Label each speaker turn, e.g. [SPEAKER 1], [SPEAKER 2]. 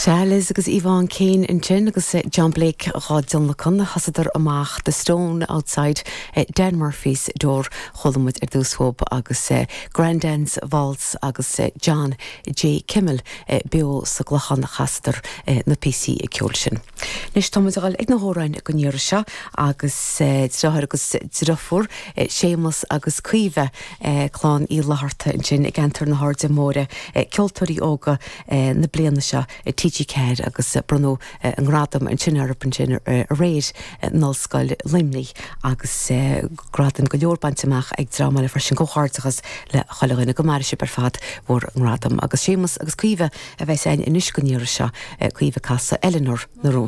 [SPEAKER 1] Sea, Liz agus Yvonne Kane ansin agus John Blake dhá dtionlacan. Thosaíodar amach The Stone Outside Dan Murphy's Door, chuala muid ar dtús uathub, agus Grandad's Waltz agus John J. Kimmel beo sa gClochán a chasadar na píosaí ceoil sin. Anois tá muid a dhul ag na hamhráin don iarraidh seo agus deartháir agus deirfiúr, Séamus agus Caoimhe, clann Uí Fhlatharta ansin i gceantar na hAirde Móire, ceoltóirí óga na bliana seo i TG4 agus bronnadh a ngradam ansin orthu ansin aréir in Ollscoil Luimnigh agus gradaim go leor bainte amach ag dream eile freisin. Comhghairdeachas le chuile dhuine. Go maire sibh ar fad bhur ngradam. Agus Séamus agus Caoimhe a bheas againn anois don iarraidh seo, Caoimhe ag casadh Eileanóir na Rún.